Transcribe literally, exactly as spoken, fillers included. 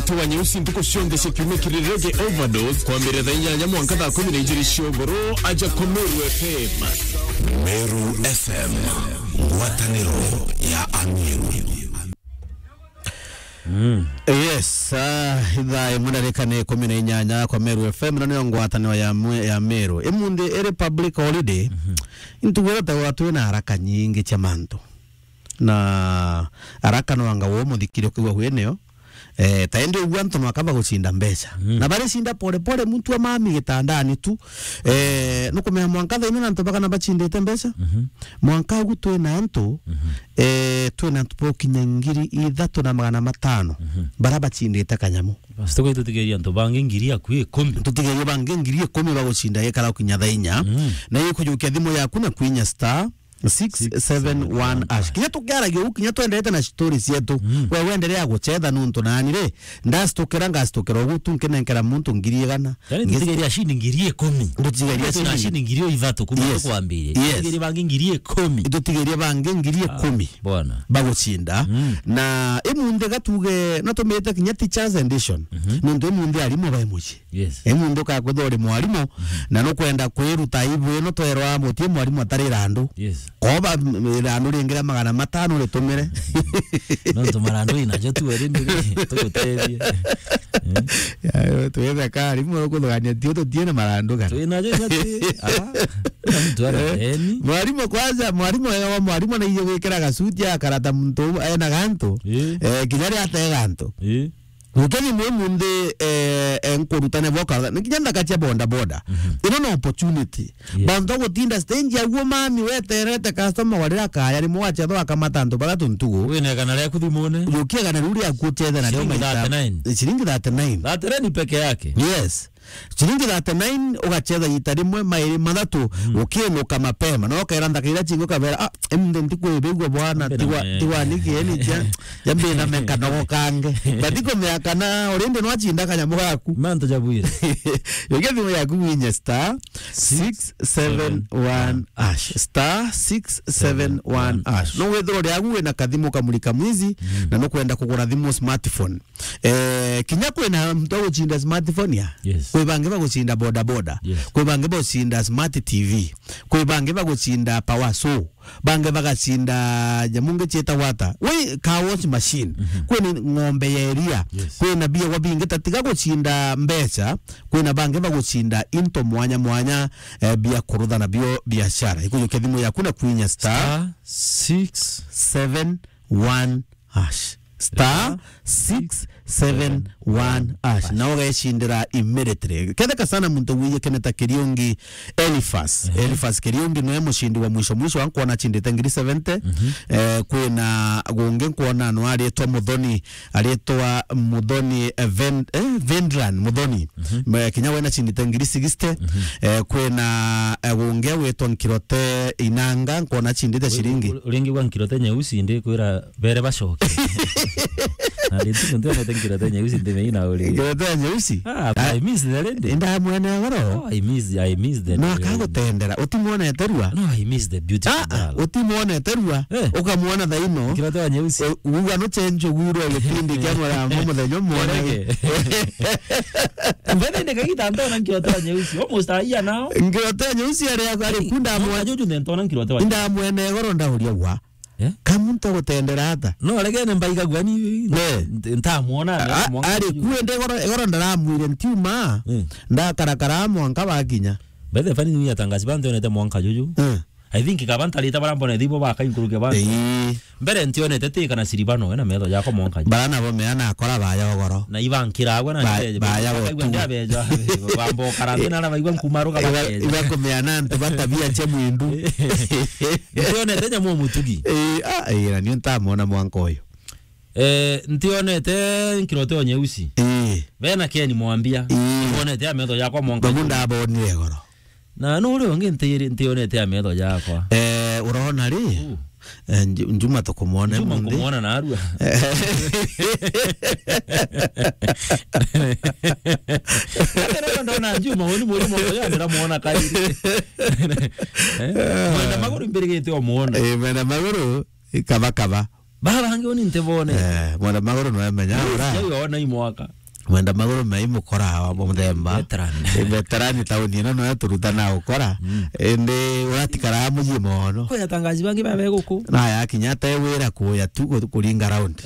Tuwa nyeusi ntuku cionthe cia kiumia kiri Reggae Overdose, kwambiriria thaa inyanya mwanka thaa kumi na ijiri cia ugoro, aja kwa Meru F M. Meru F M, ngwataniro ya Ameru. Mm. Yes, ah, ithaa imwe ndarika ni ikumi na inyanya kwa Meru F M, na niyo ngwataniro ya mwe-, ya Meru. Imunthi iri public holiday, mhm, intugwire ta gwa twina haraka nyingi cia mantu. Na haraka no anga wo muthikiri ukiigua wi niyo. Eh, ta indi uguo antu no akamba gucinda mbeca. Mm. Na baricinda pole pole, muntu amami gitandani tu. Eh, nukumenya mwanka thaino na antu bagana bacindite mbeca. Mhm. Mwanka ugu twina antu, mhm, eh, twina antu bokinya ngiri ithatu na magana matano, mhm, bara bacindite kanyamu. Basi tuko tutigeria antu bangi ngiri akui ikumi. Tutigeria bangi ngiri ikumi bagucinda gikara gukinya thaa inya. Mm. Na ikujukia thimu yaku na kwinya star six seven one hash. Kinya tukiaragia uu, kinya twendete na story cietu. Mm. We wendelea gucetha nuntu nani ri, ndastukira, ngastukira ugu tu, nkinenkera muntu ngiri igana. Yani, ngis- tutigeria ciringi ngiri ikumi. Tutigeria ciringi ngiri ithatu kuma, yes, tukwambirie. Yes. Tutigeria bangi ngiri ikumi. Tutigeria bangi ngiri ikumi. Ah, bwana. Bagucinda. Mm. Na imunthi gatuge, no tumite kinya teachers edition. Mhm. Nuntu imunthi arimu bai mucii. Yes. Imunthi ukakwithwa uri mwarimu, mhm, na nukwenda kwiruta ibu ino twerwa mutie mwarimu atarira andu. Yes. Koba, m-, irandu ringi ria magana matano ritumire. Nontu marandu inajo tu eri mbere, tugutethie. Eh? Ya, twitheka arimu ukuthugania tio tutie na marandu kana. Twinajo inya ti, ah, na mtu ana, eh, deni. Mwarimu kwanza, mwarimu ewa, mwarimu naije gwikira gasuti akarata muntu ena gantu. Eh. Eh, kinya ria ate gantu. Eh. Gukeni mwe munthi, eh, eh, nkurutane boka, ni kinya ndaka cia boda boda. Mhm. Ino no opportunity. Yes. Bantu gutinda stage ya guo mami weterete customer warira kaya, rimwe wachethwa akamata antu bathatu ntugu. Wina igana riaku thimune. Yukia igana riu riaku uchethe nario. Ciringi maita thirty-nine. Ciringi thirty-nine. Thirty-nine peke yake. Yes. Ciringi thirty-nine ugachetha ita rimwe, mairi mathatu, mm, ukinuka mapema. Na ukaira nthaka iria chingi ukabera, "Ah, emde ntikwibigua bwana, tigwa, tigwa niki eni cha, yambe na meka nogo kange." But iko mea kana already no achinda kanyamu gaku. Mantu jabwire. Yukia thimu yaku winye star six seven one hash. Star six seven one hash. No withirwo riagu wina kathimu kamuri kamwizi, mm, na nukwenda kugura thimu smartphone. Eh, kinya kwina muntu agucinda smartphone ya. Yes. Kwi bangi bagucinda boda boda. Yes. Kwi bangi bagucinda smart T V. Kwi bangi bagucinda power saw. Bangi bagacinda nyamu ngi cietagwa ata? Wi car wash machine. Mhm. Kwina ng'ombe ya iria. Yes. Kwina biagwa bingi, tatiga gucinda mbeca. Kwina bangi bagucinda into mwanya mwanya, eh, bia kurutha nabio biashara. Ikujukia thimu yaku na kwinya star star six seven one hash. Star six seven one hash. Na ugecindira immediately. Ketheka sana muntu wiye Keneta Kiriungi Elifas. Mhm. Elifas Kiriungi niwe mucindi wa mwisho mwisho wa nkwona acindite ngiri seventy. Mhm. Eh, kwina gungi nkwona no aritwa Muthoni, aritwa Muthoni, eh, Ven-, eh, Vendran Muthoni. Mhm. Me-, kinya we nacindite ngiri sixty. Mhm. Eh, kwina, eh, gungi witwa Nkirote Inanga, nkwona acindite ciringi. Uri-, uri-, uringi gwa Nkirote Nyeusi, ndikwira bere bacoke. Na ndi tu ntionete Nkirote Nyeusi, ndi meina uri. Nkirote Nyeusi? Ah, I miss the lady. Inda mwene goro. Oh, I miss, I miss the lady. No akagutendera, utimwonete rua? No, I miss the beautiful girl. Ah, utimwonete rua? Eh. Ukamwona thaino. Nkirote wa Nyeusi. U-, uga no change ugwirwe gipindi kia mura-, muthenya umwe. Orege. Mbere ni kagita ntona Nkirote wa Nyeusi. Almost a year now. Nkirote wa Nyeusi ari, ari kunda mwa-, Juju ntona Nkirote wa Nyeusi. Inda mwene goro ndauria wa. Eh? Ka muntu agutendera ata? No, aregene mbaigagua ni, ne, ntamwona, a-, ari kuende goro, goro ndaramwire ntiuma, eh, ndakarakara mwanka bakinya. By the way, ni atangazi bantu onete mwanka juju. Eh. I think kaba ntarite bara mbona thibo bakainkuruke bantu. Ii. Mbere ntionete ti kana siribano, ena metho jakwa mwanka juju. Bara nabo meana akora baya ogoro. Na ibankira agwe na ba-, ndeje, baya akaigua gotu. Ndabeja, bambo karante na baigua nkumaruka iba-, bakeja. Ibakumeana antu batabia cia mwindu. Ntionete nyamu mutugi. Eh, ah, eh, na nio ntamwona mwanka uyu. Eh, ntionete Nkirote wa Nyeusi. Eh. Bena Ken Mwambia. Eh. Ntionete ya metho jakwa mwanka. Babu ndabonire goro. Na no uri ungi nti-, ntionete ya metho jakwa. Eh, urona ri? Uh. Eh, Nju-, Njuma tukumwona Njuma munthi. Nkumwona narua. Ate rero ndona Njuma, uni muri mwana ya ndiramwona kairi. Eh? Mwenda maguru mbirigite omwona. Eh, mwenda maguru, kaba kaba. Baba bangi uni ntibone. Eh, mwenda maguru no emenya ura. Yo yona imwaka. Mwenda maguru me imukora wa muthemba. Veteran. Eh, veteran tauni ino no turutana ukora. Mm. Indi uratikara muji mono. Ko yatangaji bangi baba guku. Na ya kinya te wira kuya tu ku-, kuringa round.